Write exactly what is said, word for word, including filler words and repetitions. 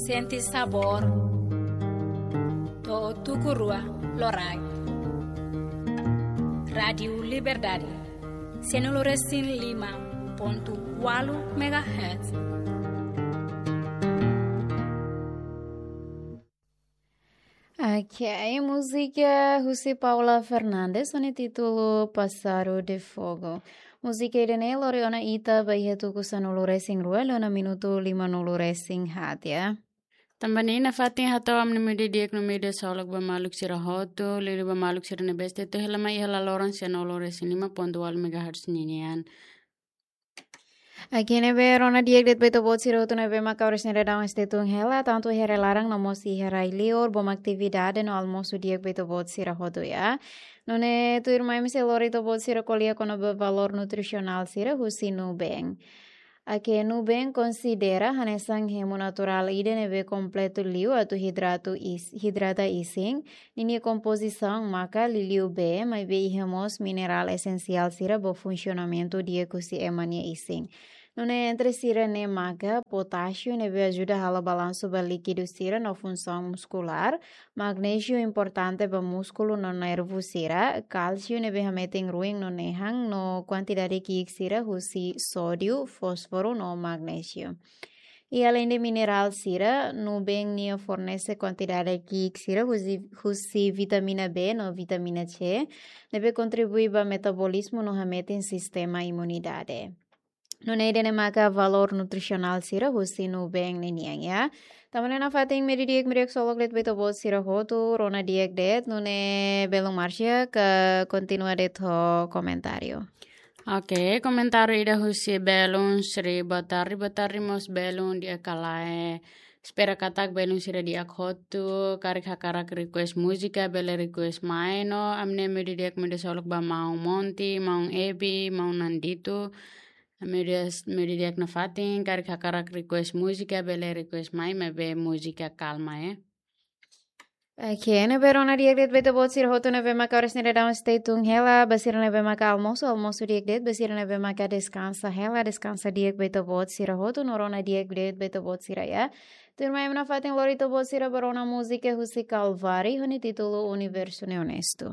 Sente sabór. To'o tuku rua loraik. Rádiu Liberdade. Sanulu-resin-lima pontu ualu megahertz. Ok, múzika husi Paula Fernandes, ho nia títulu Pássaro de Fogo. Múzika ida-ne'e lori ona ita ba iha tuku sanulu-resin-rua, liu ona minutu limanulu-resin-haat ya. Tanba ne'e nafatin hato'o ami-nia imi di'ak no imi ksolok ba maluk sira hotu, liuliu ba maluk sira ne'ebé sei tuir hela mai iha laloran sanulu-resin-lima pontu ualu megahertz ninian. Ok, ne'ebé rona di'ak de'it ba ita-boot sira hotu ne'ebé maka oras ne'e daudaun sei tun hela, tantu iha rai-laran no mós iha rai-liur, bom atividade no almosu di'ak ba ita-boot sira hotu ya. Nune'e tuirmai ami sei lori ita-boot sira ko'alia kona-ba valór nutrisionál sira husi Nuben. Ok, Nuben konsidera hanesan hemu naturál ida ne'ebé kompletu liu atu hidratu is-, hidrata isin, ninia kompozisaun maka liuliu bee, maibé iha mós minerál esensiál sira ba funsionamentu di'ak husi ema nia isin. Nune'e entre sira-ne'e maka potásiu ne'ebé ajuda halo balansu ba líkidu sira no funsaun muskulár, magnéziu importante ba múskulu no nervu sira, kálsiu ne'ebé hametin ruin no nehan, no kuantidade ki'ik sira husi sódiu, fósforu no magnéziu. I aleinde minerál sira, Nuben nia fornese kuantidade ki'ik sira husi, husi vitamina B no vitamina C, ne'ebé kontribui ba metabolizmu no hametin sistema imunidade. Nune'e ida-ne'e maka valór nutrisionál sira husi Nuben ninian ya. Tanba ne'e nafatin imi di'ak, imi ksolok de'it ba ita-boot sira hotu, rona di'ak de'it, nune'e belun Marcia ka kontinua de'it ho komentáriu. Ok, komentáriu ida husi belun Sri Batari, Batari mós belun di'ak ka lae. Espera katak belun sira di'ak hotu, karik hakarak request múzika, bele request mai no, ami-nia imi di'ak, imi ksolok ba maun Monti, maun Ebi, maun Nandito, imi di'ak, imi di'ak nafatin, karik hakarak request múzika, bele request mai, maibé múzika kalma ya. Ok, ne'ebé rona di'ak de'it ba ita-boot sira hotu ne'ebé maka oras ne'e daudaun sei tun hela, ba sira ne'ebé maka almosu, almosu di'ak de'it, ba sira ne'ebé maka deskansa hela, deskansa di'ak ba ita-boot sira hotu, no rona di'ak de'it ba ita-boot sira ya. Tuirmai ami nafatin lori ita-boot sira ba rona múzika husi Calvary, ho nia títulu Universo Neonesto.